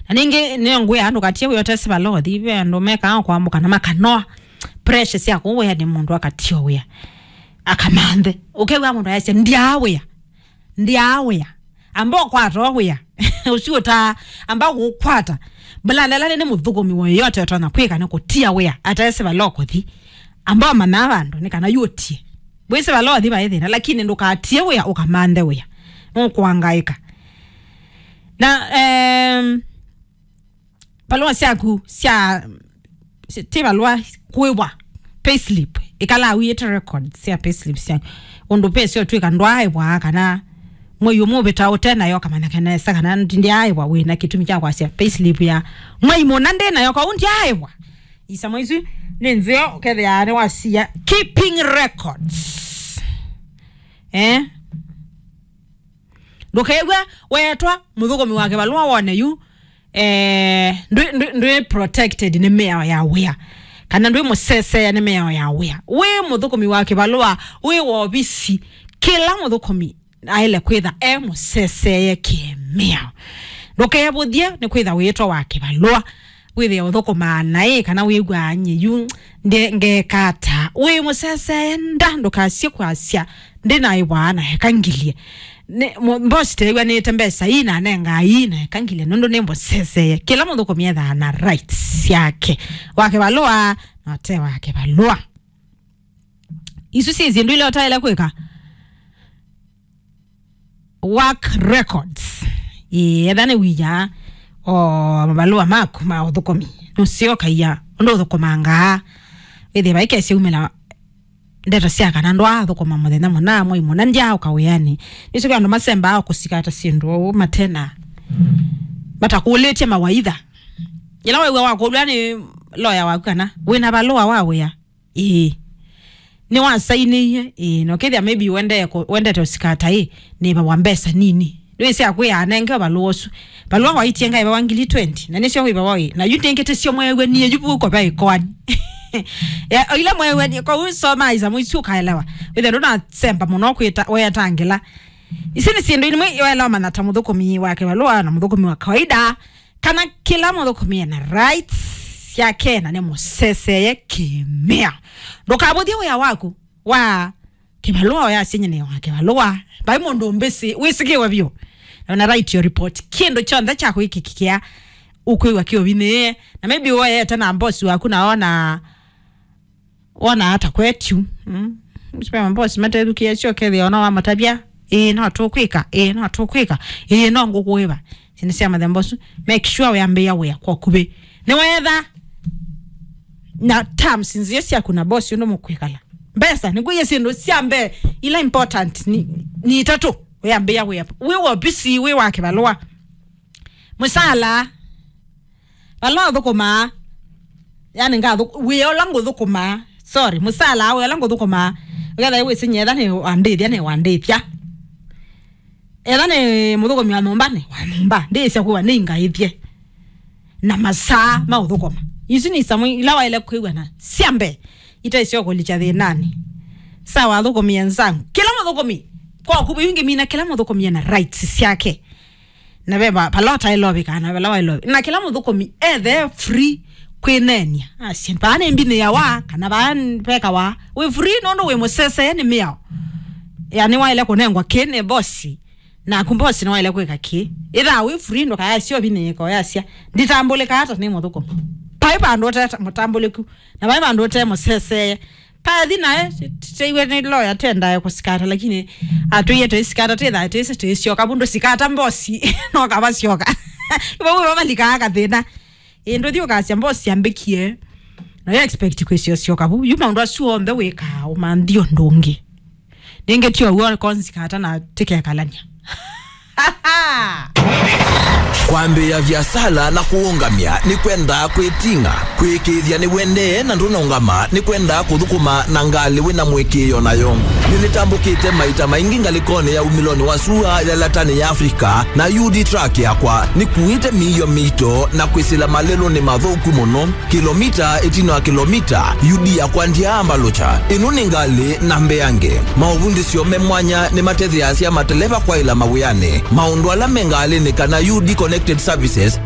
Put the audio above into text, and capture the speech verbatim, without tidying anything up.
Na ningĩ nĩyo ngwĩa andũ katie wĩa ũtesi valothi, ve andũ mekaa kwamũka na makanoa pressure sya kũu wĩa nĩ mũndũ akatie wĩa. Akamanthe. Ũkew'a mũndũ ayasya, "Ndyaa wĩa. Ndyaa wĩa." Amba ũkwata o wĩa. Ũsu ũtaa, amba gũkwata. Mbula lela nĩ mũthũkũmi wa yote ũtonya kwĩka nĩ kũtia wĩa. Atesi valothi. Amba ũmanya vandũ nĩ kana yutie. Wĩsĩ valothi vaĩ thĩna, lakini ndũkatie wĩa ũkamanthe wĩa. Nũkwangaĩka. Na, em, valũa syaku sya, sya, ti valũa, kũĩwa payslip. Ĩkala wĩĩte record sya payslip syaku. Ũndũ pesa ũtwĩka ndwaaĩwa kana mwei ũmwe ũvĩta ũte nayo, ũkamanya nesa kana ndyaĩwa, wĩ na kĩtumi kya kwasya payslip ya mwei mũna ndĩ nayo, kau ndyaĩwa. Isomo isu nĩ nzeo, ũkethĩa nĩ wasia keeping records. Eh? Ndũkew'a weetwa mũthũkũmi wa kĩvalũa wone yu, eh, ndwĩ, ndwĩ, ndwĩ protected nĩ mĩao ya wĩa, kana ndwĩ mũseseea nĩ mĩao ya wĩa. Wĩ mũthũkũmi wa kĩvalũa, wĩ wovisi, kĩla mũthũkũmi aĩle kwĩtha e mũseseeye kĩmĩao. Ndũkevũthye nĩ kwĩtha wĩtwa wa kĩvalũa, wĩthĩe ũthũkũmaa naĩ, kana wĩw'aa nyie yu nde-, ngeeka ata. Wĩ mũseseeye nda, ndũkasye kwasya, "Ndĩ na ĩwaa na eka ngilie." Nĩ, mũ-, mbosi teew'anĩte mbesa ii na anengaa ii na eka ngilie, nũndũ nĩ mũseseeye. Kĩla mũthũkũmi ethaa na rights syake. Wa kĩvalũa, na ũte wa kĩvalũa. Isu syĩ syĩndũ ila ũtaĩle kwĩka. Work records. Ĩĩ, etha nĩ wia o mavalũa maku ma ũthũkũmi. Nũsyokaia ũndũ ũthũkũmangaa. Wĩthĩe vaikesya umĩla ndeto sya kana ndwaathũkũma mũthenya mũna, mwei mũna, ndyaaũka wĩanĩ. Nĩsyo andũ masembaa kũsikata syĩndũ ũu matena, matakũlĩtye mawaitha. Yĩla wew'a wakũlw'a nĩ loya waku kana wĩna valũa wa wĩa, ĩĩ. Nĩwasainĩie, ĩĩ, na ũkethĩa maybe wendee kũ-, wendete ũsikata ĩ, nĩvawa mbesa nini. Nĩwĩsĩ akwĩa anenge valũa ũsu. Valũa waitie ngaĩvawa ngili twenty, na nĩsyo wĩvawa ĩ. Na yu nĩngĩ tĩsyo mweew'e niĩ yu vuko va ĩkoani. Ya, o ila mweew'e niĩ, kwa ũu soma isomo isu ũkaelewa. Wĩthĩa ndũnasemba mũno kwĩta, wetangĩla. Ici nĩ syĩndũ imwe waelewa manya ta mũthũkũmi wa kĩvalũa na mũthũkũmi wa kawaida. Kana kĩla mũthũkũmi ena rights syake na nĩ mũseseeye kĩmĩao. Ndũkavũthye wĩa waku wa kĩvalũa, ũyasya nyie nĩ wa kĩvalũa. Vai mũndũ mbĩsĩ, wĩsĩkĩwe vyũ. Na wĩna right your report. Kĩndũ kyonthe kya kwĩkĩkĩa ũkwĩw'a kĩũvinĩĩe. Na maybe woyete na boss waku na ona wona ata kwetu. Mm. Spema boss matethukĩe syo kethĩa ona wamatavya. Ĩĩ, no tũkwĩka. Ĩĩ, no tũkwĩka. Ĩĩ, no ngũkũĩva. Sini sya mathembo su. Make sure wĩambĩĩa wĩa kwa kuvĩ. Nĩwetha na terms nzio syaku na boss ũndũ mũkwĩkala. Mbesa, nĩkwĩie syĩndũ sya mbee ila important ni, ni itatũ. Wĩambĩĩa wĩa. Wĩ wa obisi, wĩ wa kĩvalũa. Mũsala. Vala ũthũkũmaa. Yani, ngathũ-, wĩa ũla ngũthũkũmaa. Sorry, mũsala wĩa ũla ngũthũkũmaa. Ũkethĩa wĩsĩ nyie etha nĩ wandĩthya, nĩ wandĩthya. Etha nĩ mũthũkũmi wa nyũmba, nĩ wa nyũmba. Ndĩsya kuwa nĩ ingaĩthye. Na masaa ma ũthũkũma. Isu nĩ isomo ila waĩle kwĩw'a na sya mbee. Itaisyo kũlikya thĩnanĩ. Sawa, athũkũmi enzangu. Kĩla mũthũkũmi, kwa kuvĩ ingĩ mina kĩla mũthũkũmi ena rights syake. Na ve va-, vala ũtaĩle ũvĩkaa, na vala waĩle ũvĩ-, na kĩla mũthũkũmi ethe free kwĩneenia. Asye, vaa nĩ mbinĩ ya wa, kana vaa n-, veka wa. Wĩ free nũndũ wĩ mũsesee nĩ mĩao. Yani waĩle kũnengwa kĩ nĩ boss. Naku boss nĩwaĩle kwĩka kĩ. Ĩthaa wĩ free ndũkayasya ũvinĩĩka ũyasya, "Nditambũlĩka ata nĩ mũthũkũmi." Vai vandũ ũte mũtambũlĩku, na vai vandũ ũte mũsesee. Pathi nae, teiwe nĩ lawyer tendae kũsikata, lakini atwĩie tũisikata, tĩthae tĩsĩ tĩsyoka, vundu sikata mbosi, no kavasyoka. Vau vavalikaa kathĩna. Ĩ, ndũthi ũkasya mbosi ambĩkie. Na yo expect kwĩsya ũsyoka vau. Yu maũndũ asu onthe wĩkaa, ũmanthi ũndũ ũngĩ. Nĩngĩ ti ũw'o, konsikata na tĩkekalany'a. Kwambĩĩa viasala na kũũngamya nĩ kwendaa kwĩting'a. Kwĩkĩĩthya nĩwendee na ndũnaũngama nĩ kwendaa kũthũkũma na ngalĩ wĩ na mũĩkĩĩo nayo. Nĩnĩtambũkĩte maita maingĩ ngalĩkonĩ ya umĩlonĩ wa sua ya Latanĩ ya Afrika, na U D truck yakwa nĩkuĩte mĩio mĩito na kwĩsĩla malelũnĩ mathũku mũno. Kĩlomita ĩtina wa kĩlomita, U D yakwa ndyaambalũkya. Ĩno nĩ ngalĩ na mbeange. Maũvundĩsyo me mwanya nĩmatetheeasya mateleva kwaĩla mawĩanĩ. Maũndũ ala me ngalĩnĩ kana U D Connected Services nĩ